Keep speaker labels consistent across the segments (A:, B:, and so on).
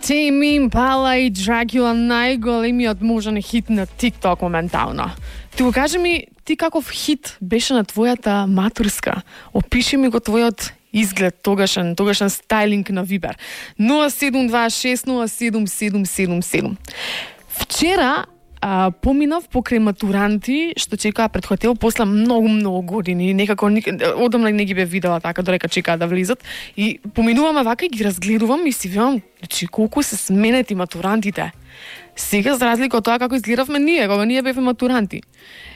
A: Tame Impala и Dracula, најголемиот можен хит на TikTok моментално. Ти го кажи ми, ти каков хит беше на твојата матурска? Опиши ми го твојот изглед, тогашен стайлинг на Вибер. 072607777. Вчера поминав покрај матуранти што чекаа пред хотел после многу години, некако одамна не ги бе видела така додека чекаа да влизат и поминуваме вака и ги разгледувам и си видам, значи колку се сменети матурантите. Сега за разлика од тоа како изгледавме ние, кога ние бевме матуранти.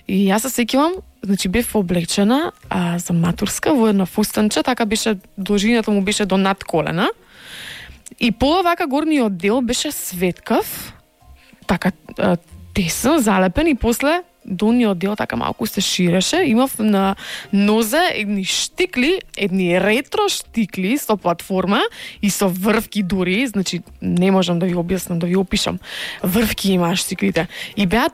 A: И јас се сеќавам, значи бев облечена за матурска во една фустанче, така беше, должината му беше до над колена. И пола вака горниот дел беше светкав, така тесен, залепен и после долниот дел така малку се ширеше. Имав на нозе едни штикли, едни ретро штикли со платформа и со врвки дури, значи не можам да ви објаснам, да ви опишам. Врвки имаа штиклите и беа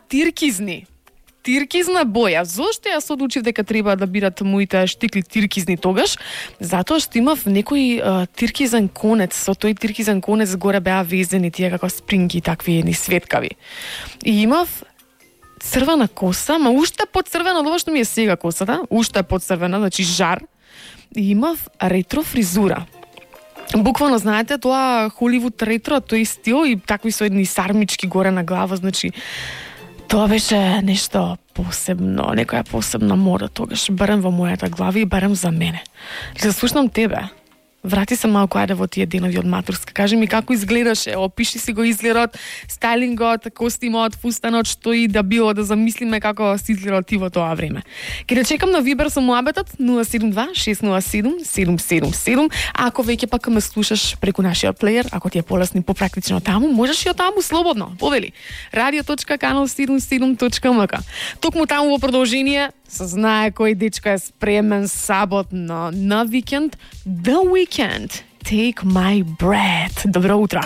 A: тиркизна боја. Зошто јас одлучив дека треба да бидат моите штикли тиркизни тогаш? Затоа што имав некој тиркизен конец, со тој тиркизен конец горе беа везени тие како спринги, такви едни светкави. И имав црвена коса, ма уште подцрвена од ова што ми е сега косата, уште подцрвена, значи жар. И имав ретро фризура. Буквално, знаете, тоа Холивуд ретро, тој стил и такви со едни сармички горе на глава, значи тоа беше нешто посебно, некоја посебна мода тогаш, барем во мојата глава и барем за мене. Да слушнам тебе. Врати се малку ајде во тие денови од матурска. Кажи ми како изгледаше, опиши си го изгледот, стайлингот, костимот, фустанот, што и да било, да замислиме како си изгледал ти во тоа време. Ке да чекам на Вибер со муабетот 072-607-777. Ако веќе пак ме слушаш преку нашиот плеер, ако ти е полесно и попрактично таму, можеш и од таму слободно. Повели radio.canal77.mk. Токму таму во продолжение се знае кој дечко е спремен саботно на викенд. The Weekend, Take My Breath. Добро утро.